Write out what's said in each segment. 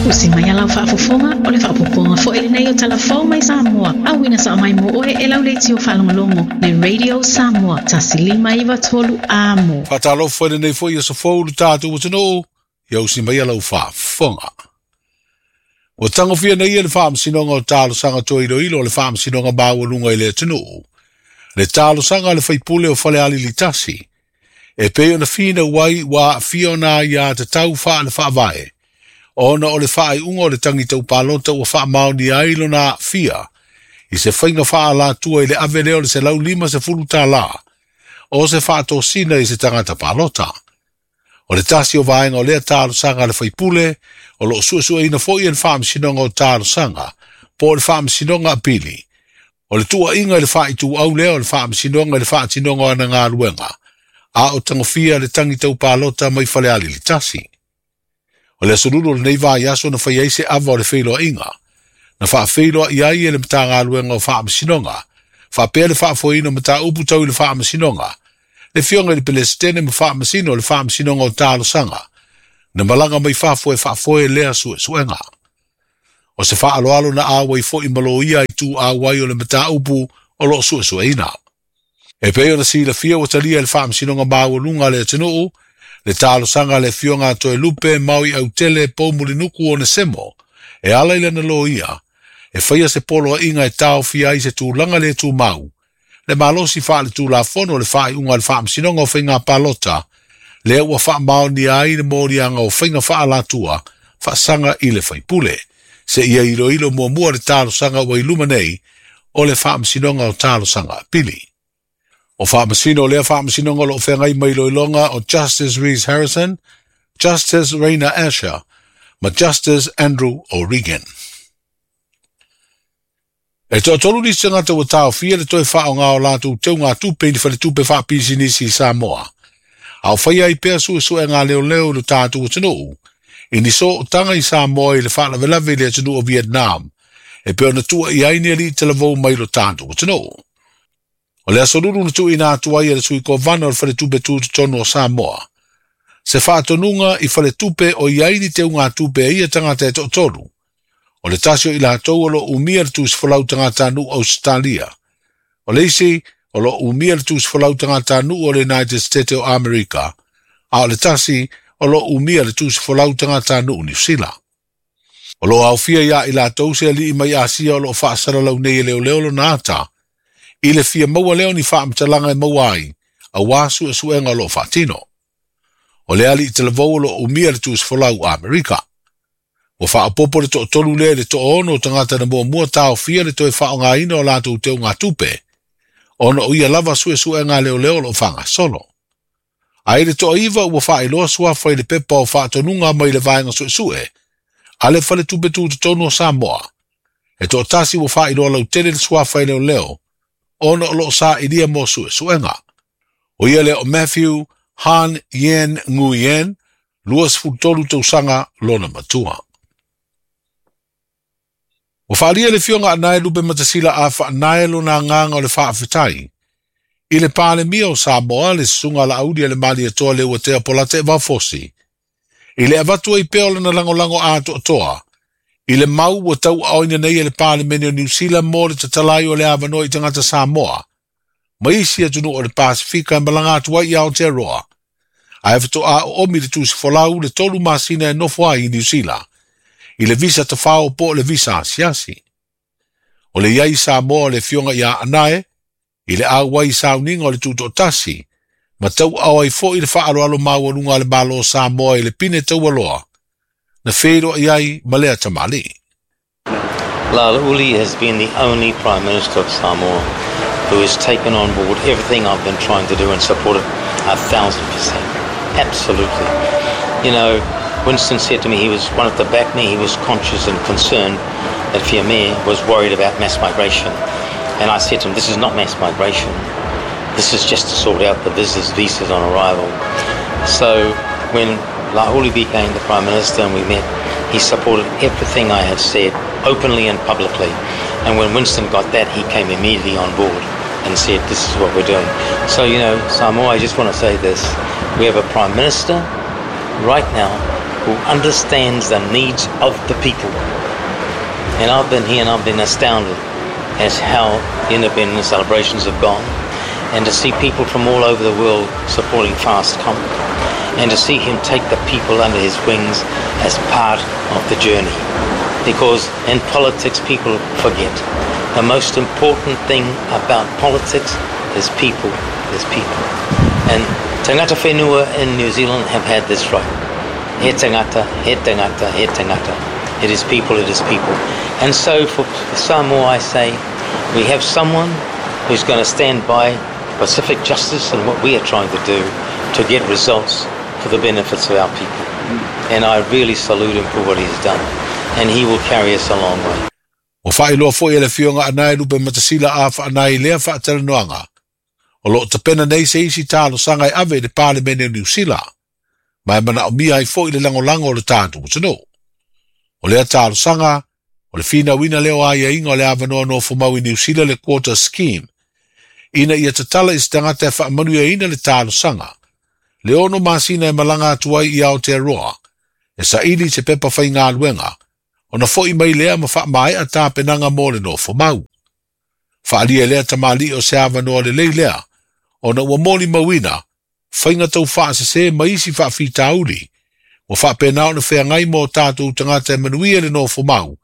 Usi mai a lau faafofoga, o le faaopoopoga foi lenei o Tala Fou mai Samoa, auina sao mai mo oe e lau leitio faalogologo le Radio Samoa 1593 Amo. Faatalofa i lenei foi aso fou i lo tatou atunuu, ia usi mai a lau faafofoga. Ua tagofia nei e le Faamasinoga o Talosaga Toe Iloilo o le Faamasinoga Maualuga i le atunuu, le talosaga a le faipule o Falealili 1, e pei ona finau ai ua aafia ona aiatatau faale-faavae, ona o le faaiuga o le tagi tau palota ua faamaonia ai lona aafia i se faiga faaalatua i le ave lea o le $150 o se faatosina i se tagata palota. O le tasi o vaega o lea talosaga a le faipule, o lo o suesueina foi e le Faamasinoga o Talosaga, po o le Faamasinoga Apili, o le tuuaiga i le faaituau lea o le Faamasinoga i le faatinoga o ana galuega, a o tagofia le tagi tau palota mai Falealili 1. O le aso lulu o lenei vaiaso na fai ai se ava o le feiloaiga, na faafeiloai ai e le Matagaluega o Faamasinoga, faapea le faafoeina o mataupu tau i le Faamasinoga, le afioga i le Pelesitene ma Faamasino o le Faamasinoga o Talosaga, na malaga mai fafo e faafoe lea suesuega. O se faaaloalo na auai foi ma loia i tu auai o le mataupu o lo o suesueina. E pei ona silafia ua talia e le Faamasinoga Maualuga a le atunuu, le talosaga a le afioga a Toelupe Maui Autele Poumulinuku Onesemo, e ala i lana loia, e faia se poloaiga e taofia ai se tulaga le tumau, le malosi faaletulafono o le faaiuga a le Faamasinoga o Faiga Palota, lea ua faamaonia ai le moliaga o faiga faaalatua faasaga i le faipule, seia iloilo muamua le talosaga ua i luma nei o le Faamasinoga o Talosaga Apili. O faamasino o lea faamasinoga o lo o feagai ma iloiloga o Justice Rees Harrison, Justice Raina Asher ma Justice Andrew O'Regan. E toatolu nisi tagata ua taofia le toe faaaoga o latou teugatupe i ni faletupe faapisinisi i Samoa, a o faia ai pea suesuega a leoleo i lo tatou atunuu i ni sootaga i Samoa i le faalavelave i le atunuu o Vietnam, e pei ona tuuaia ai ni alii talavou mai lo tatou atunuu. O le aso lulu na tuuina atu ai e le sui kovana o le Faletupe Tutotonu o Samoa se faatonuga i faletupe o i ai ni teugatupe a ia tagata e toatolu. O le tasi o i latou o lo o umia le tusifolau tagatanuu Ausetalia. O le isi o lo o umia le tusifolau tagatanuu o le United States o Amerika, a o le tasi o lo o umia le tusifolau tagatanuu Niu Sila. O lo o aofia iā i latou se alii mai Asia o lo o faasalalau nei e leoleo lona ata, i le fia maua lea o ni faamatalaga e maua ai auā suesuega o lo o faatino. O le alii talavou o lo o umia le tusifolau Amerika. Ua faaopoopo le toatolu lea i le toaono o tagata na muamua taofia le toe faaaogaina o latou teugatupe, ona o ia lava suesuega a leoleo o lo o faagasolo. A i le toaiva ua faailoa suafa i le pepa o faatonuga mai le vaega suesue a le Faletupe Tutotonu o Samoa, e toatasi ua faailoa lautele le suafa i leoleo ona o lo o sailia mo suesuega. O ia lea o Matthew Han Yen Nguyen, 23 tausaga lona matua. Ua faaalia e le Afioga a Nae Lupematasila a Faanae lona agaga o le faafetai i le Palemia o Samoa, le Susuga a Laauli a le Malietoa Leuatea Polataivao Fosi, i le avatu ai pea o lana lagolago atoatoa i le mau ua tauaaoina nei e le Palemene o Niu Sila mo le tatala ai o le avanoa i tagata Samoa ma isi atunuu o le Pasefika e malaga atu ai i Aotearoa, ae faatoa oomi le tusi folau le 3 masina e nofo ai i Niu Sila i le visa tafao po o le visa asiasi. O le i ai i Samoa o le Afioga ia Anae i le auai i sauniga o le Tutoatasi, ma tauaao ai foi le faaaloalo maualuga a le Malo o Samoa i le pine taualoa na feiloai ai ma lea tamalii. Laauli has been the only Prime Minister of Samoa who has taken on board everything I've been trying to do and supported 1,000%. Absolutely. You know, Winston said to me he was wanted to back me. He was conscious and concerned that Fiame was worried about mass migration. And I said to him, this is not mass migration. This is just to sort out the visitors' visas on arrival. So when Laauli became the Prime Minister and we met, he supported everything I had said openly and publicly. And when Winston got that, he came immediately on board and said, this is what we're doing. So, you know, Samoa, I just want to say this. We have a Prime Minister right now who understands the needs of the people. And I've been here and I've been astounded as how the independence celebrations have gone, and to see people from all over the world supporting Fastcom, and to see him take the people under his wings as part of the journey. Because in politics, people forget. The most important thing about politics is people, is people. And tangata whenua in New Zealand have had this right. He tangata, he tangata, he tangata. It is people, it is people. And so for Samoa, I say, we have someone who's going to stand by Pacific justice and what we are trying to do to get results for the benefits of our people. And I really salute him for what he's done. And he will carry us a long way. Ua faailoa foi e le Afioga Anae Lupematasila a Faanai i lea faatalanoaga, o lo o tapena nei se isi talosaga e ave i le Palemene o Niu Sila, ma e manaomia ai foi le lagolago o le tatou atunuu. O lea talosaga, o le finauina lea o aiaiga o le avanoa nofomau i Niu Sila le Quota Scheme, ina ia tatala i se tagata e faamanuiaina le talosaga, le 6 masina e malaga atu ai i Aotearoa, e saili i se pepa faigaluega, ona fo'i mai lea ma faamaea tapenaga mo le nofomau. Faaalia e lea tamalii o se avanoa lelei lea, ona ua molimauina, faiga taufaasese ma isi faafitauli, ua faapena ona feagai ma o tatou tagata e manuia le nofomau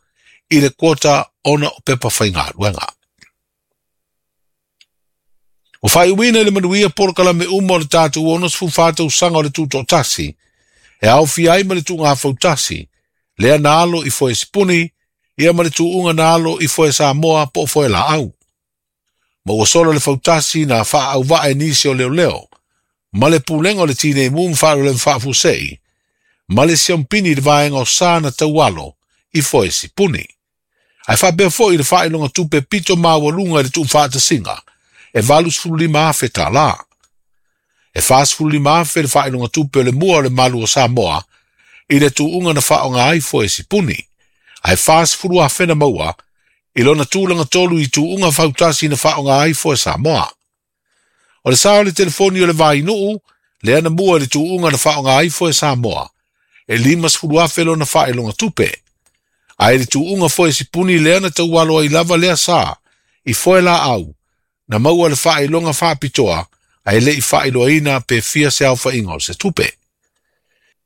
i le quota ona o pepa faigaluega. Ua faaiuina i le manuia polokalame uma o le tatou 64 tausaga o le Tutoatasi, e aofia ai ma le tuugafautasi, lea na alo i foe sipuni, ia ma le tuuga na alo i foe Samoa po o foe laau. Ma ua sola le fautasi na faaauvaa e nisi o leoleo, ma le pulega o le Tinei Mu ma Faalavelave Faafuasei, ma le siompini i le vaega o sa na taualo i foe sipuni. Ae faapea foi le faailoga tupe pito maualuga i le tuufaatasiga, e $85,000 tālā. E $45,000 le faailoga tupe o le mua o le malu o Samoa i le tuuga na faaaoga ai foe sipuni, ae $40,000 na maua i lona tulaga tolu i tuuga fautasi na faaaoga ai foe Samoa. O le sa o le telefoni o le Vainuu, lea na mua i le tuuga na faaaoga ai foe Samoa, e $50,000 lona faailoga tupe. Ae i le tuuga foe sipuni lea na taualo ai lava lea sa i foe laau, na maua le faailoga faapitoa ae le i faailoaina pe fia se aofaiga o se tupe.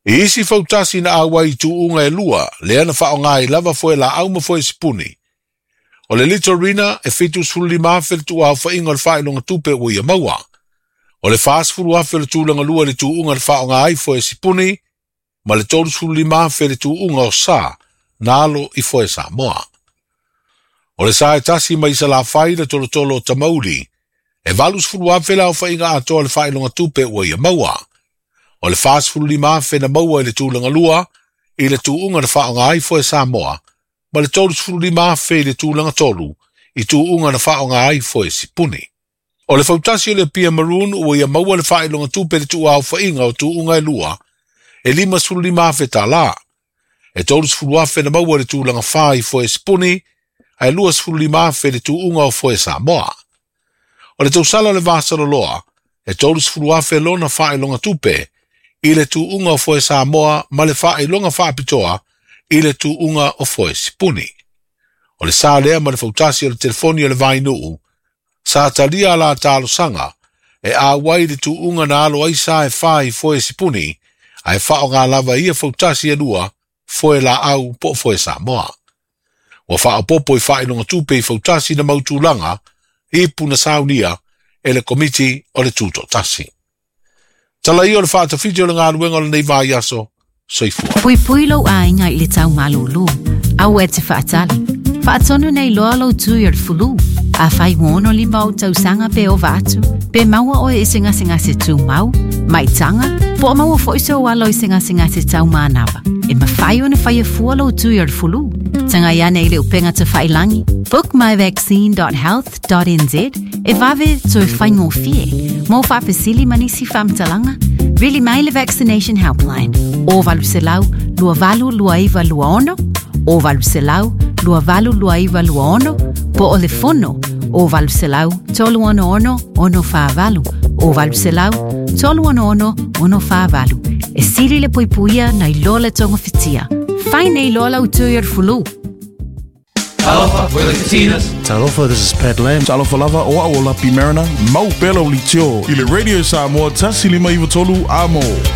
I isi fautasi na auai i tuuga e lua, lea na faaaoga ai lava foe laau ma foe sipuni. O le Litorina e $75,000 le tuuaofaiga o le faailoga tupe ua ia maua. O le $40,000 le tulaga lua i le tuuga na faaaoga ai foe sipuni, ma le $35,000 le tuuga o sa na alo i foe Samoa. O le sa e tasi mai Salafai le tolotolo o Tamauli, e $80,000 le aofaiga atoa o le faailoga tupe ua ia maua. O le $45,000 na maua i le tulaga lua i le tuuga na faaaoga ai foe Samoa, ma le $35,000 i le tulaga tolu i tuuga na faaaoga ai foe sipuni. O le fautasi o le Apia Maroon ua ia maua le faailoga tupe le tuuaofaiga o tuuga e lua, e $55,000 tālā. E $30,000 na maua i le tulaga 4 i foe sipuni, ae $25,000 le tuuga o foe Samoa. O le tausala o le Vasaloloa, e $30,000 lona faailoga tupe i le tuuga o foe Samoa ma le faailoga faapitoa i le tuuga o foe sipuni. O le sa lea ma le fautasi o le telefoni o le Vainuu, sa talia la talosaga e auai le tuuga na alo ai sa e 4 i foe sipuni, ae faaaoga lava ia fautasi e lua, foe laau po o foe Samoa. Ua faaopopo i faailoga tupe i fautasi na mautulaga ipu na saunia e le komiti o le Tutoatasi. Tala ia o le faatafiti o le galuega o lenei vaiaso, soifua. Puipui lou aiga i le tau malūlū. Aua e te faatali. Faatonu nei loa lou tui o le fulu. Afai ua 65 ou tausaga pe ova atu, pe maua oe i se gasegase tumau, maitaga, po o maua foi sou alo i se gasegase taumanava. E mafai ona faia fua lou tui o le fulu. Tagai ane i le upega tafailagi, bookmyvaccine.health.nz e vave toe faigofie. Mo faafesili ma nisi faamatalaga, vili mai le Vaccination Helpline o 800 2829 26 o 800 2829 26 po o le fono o 800 366 648 O 800 366 648. E sili le puipuia nai lo le togofitia. Fai nei loa lau tui o le fulu. Talofa, we're the Katinas. Talofa, this is Pat Lam. Talofa lava o au o Lapi Mariner, mau pela o litio. I le Radio Samoa, tasi lima iwa tolu, amo.